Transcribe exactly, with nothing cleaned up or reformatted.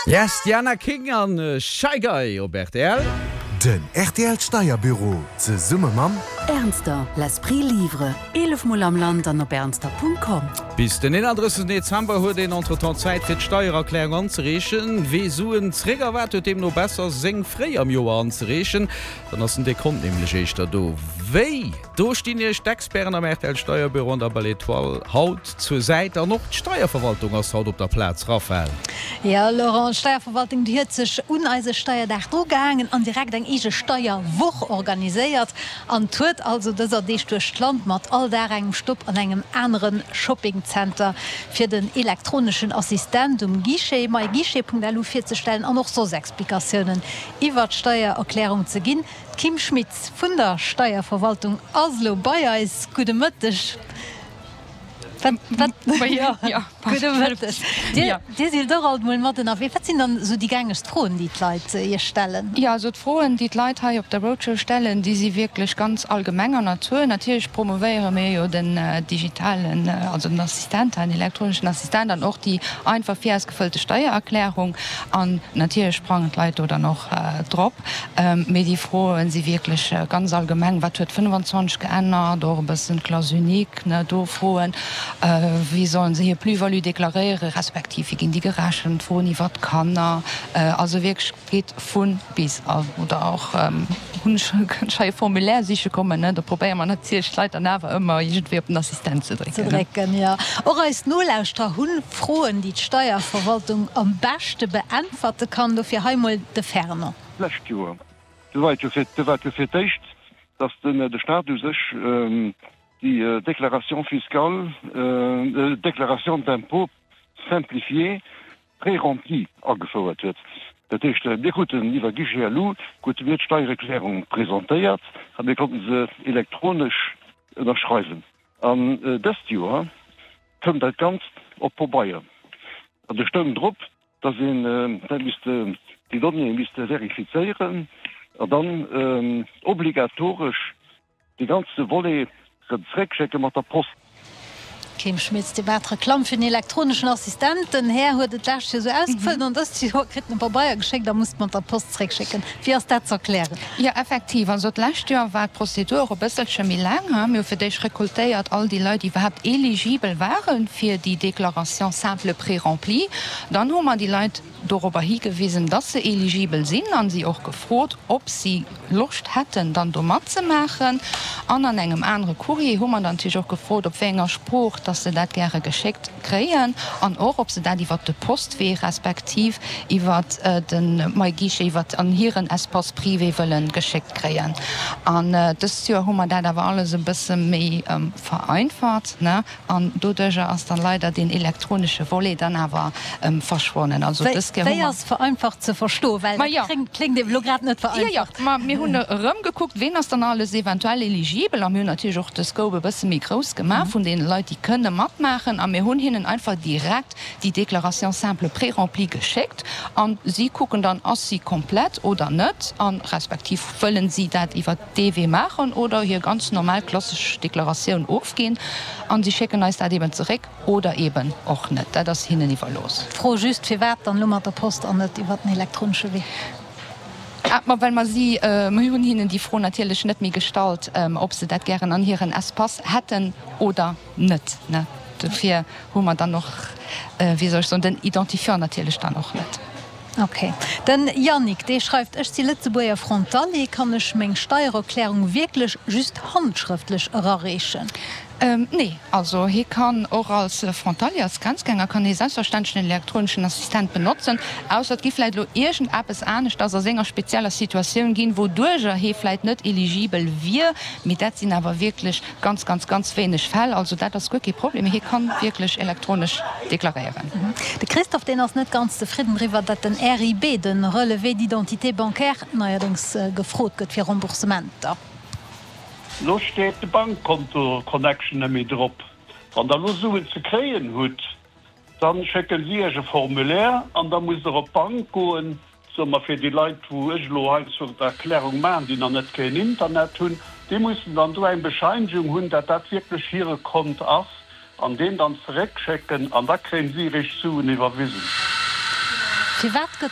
Yes, Diana King an Shy Guy op R T L. Den R T L Steierbüro zesumme mam Ernster, l'esprit livre. Eelef Mol am Land an op ernster Punkt com. Bis den eenandrëssegsten Dezember huet een entretemps Zäit fir d'Steiererklärung anzereechen. Wee Suen zréck erwaart huet deemno besser seng fréi am Joer anzereechen, dann ass den Dekont nämlech éischter do. Wéi? Do stinn iech d'Experten am R T L Steierbüro an der Belle Etoile haut zur Säit an och d'Steierverwaltung ass haut op der Plaz, Raphaëlle. Jo Laurent, d'Steierverwaltung déi huet sech un eise Steierdag drugehaangen an direkt eng eege Steierwoch organiséiert an tourt also dëser Deeg duerch d'Land mat all Dag engem Stopp an engem anere Shoppingzenter fir den elektroneschen Assistent um Guichet myguichet Punkt L U virzestellen an och soss Explikatiounen iwwer d'Steiererklärung ze ginn. D'Kim Schmitz vun der Steierverwaltung ass elo bei eis. Gudde Mëtteg. Wat, wat, jo, gudde Mëtteg. Dir, dir sidd och alt mol mat ënnerwee. Wat sinn dann esou déi gängegst Froen, déi d'Leit iech stellen? Jo, also d'Froen, déi d'Leit hei op der Roadshow stellen, déi si wierklech ganz allgemenger Natur. Natierlech promovéiere mir jo den digitalen, also den Assistent, den elektroneschen Assistent an och déi einfach virausgefëllte Steiererklärung. An natierlech sprangen d'Leit do dann och drop. Mee déi Froen si wierklech ganz allgemeng. Wat huet fënnfanzwanzeg geännert? Och e bëssen d'Classe unique, ne, do Froen. Wéi sollen se hir Plus-value deklaréieren, respektiv wéi ginn déi gerechent, Froen iwwer d'Kanner, also wierklech geet vu bis. Oder och hunn ech kënnt hei e Formulaire siche kommen, ne, do probéiere mer natierlech d'Leit dann awer ëmmer iergendwéi op den Assistent ze Ze drécken. drécken, jo. Och eis Nolauschterer hu Froen, déi d'Steierverwaltung am beschte beäntwerte kann. Dofir hei mol de Fernand. D'lescht Joer, do war et jo fir, do war et jo fir d'éischt, datt den de Staat u sech déi Déclaration fiscale, déclaration d'impôt simplifiée préremplie agefouert huet. Dat heescht, mir kruten iwwer Guichet L U krute mir d'Steiererklärung presentéiert a mir konnten se elektronesch ënnerschreiwen. An dëst Joer koum dat Ganzt op Pabeier. An do stoung drop, datt een dat misst, déi Donnéeë misste verifizéieren an dann obligatoresch de ganze Volet rëm zréckschécke mat der Post. Kim Schmitz, Dir maacht Reklamm fir den elektroneschen Assistent. Den Här huet et d'lescht Joer esou ausgefëllt an dëst Joer kritt en e Pabeier geschéckt a muss et mat der Post zréckschécken. Wéi ass dat ze erklären? Jo, effektiv. Also d'lescht Joer war d'Prozedur och e bësselche méi laang. Mir hu fir d'éischt rekoltéiert all déi Leit, déi iwwerhaapt eligibel ware fir déi Déclaration simple préremplie. Dann hu mer déi Leit dorobber higewisen, dass se eligibel sinn an si och gefrot, ob si Loscht hätten, dann do matzemaachen. An an engem anere Courrier hu mer dann natierlech och gefrot, op wéi enger Sprooch dass se dat gäre geschéckt kréien an och, ob se dat iwwert de Postwee respektiv iwwert de MyGuichet, iwwert an hiren Espace privé wëlle geschéckt kréien. An dëst Joer hu mer dat awer alles e bësse méi vereinfacht, ne, an doduerjer ass dann leider deen elektronesche Volet dann awer verschwonnen. Also dës Kéier hu Wéi mer. ass vereinfacht ze verstoen? Well Ma dat jo. kléngt, kléngt eben elo grad net Jo, jo, vereinfacht. ma mir hunn erëm gekuckt, ween ass dann alles eventuell eligibel, a mir hunn natierlech och de Scope e bësse méi grouss gemaach vun deene Leit, déi kënne matmaachen, a mir hunn hinnen einfach direkt déi Déclaration simple préremplie geschéckt an si kucken dann, ass si komplett oder net, a respektiv wëllen si dat iwwer dee Wee maachen oder hir ganz normal klassesch Deklaratioun ofginn, an si schécken eis dat eben zeréck oder eben och net. Dat ass hinnen iwwerlooss. Fro just, firwat dann elo mat der Post an net iwwer den elektronesche Wee? Ah, ma well mer si, mir hunn hinnen déi Fro natierlech net méi gestallt, ob se dat gären an hiren Espace hätten oder net, ne. Dofir hu mer dann och, wéi soll ech soen, den Identifiant natierlech dann och net. Ok. Den Yannick, dee schreift, Ech si Lëtzebuerger Frontalier, kann ech meng Steiererklärung wierklech just handschrëftlech erareechen? Nee, also hie kann och als Frontalier, als Grenzgänger kann hie selbstverständlech den elektroneschen Assistent benotzen, ausser et gi vläicht elo iergendeppes aneschters a senger spezieller Situatioun ginn, wouduerjer hie vläicht net eligibel wier. Mee dat sinn awer wierklech ganz, ganz, ganz wéineg Fäll. Also dat ass guer kee Problem, hie kann wierklech elektronesch deklaréieren. De Christophe, deen ass net ganz zefridden driwwer, datt den R I B, den Relevé d'identité bancaire, neierdéngs gefrot gëtt fir Remboursementer. Lo steet de Bankkonto-Connection net méi drop. Wann der lo Suen ze kréien hutt, dann schécken si iech e Formulaire an da musst der op d'Bank goen. Soe mer fir déi Leit, wou ech elo heiansdo d'Erklärung maachen, déi nach net keen Internet hunn, déi mussen dann do eng Bescheinigung hunn, dat dat wierklech hire Kont ass an deen dann zeréckschécken an da kréien si eréischt d'Suen iwwerwisen. Firwat gëtt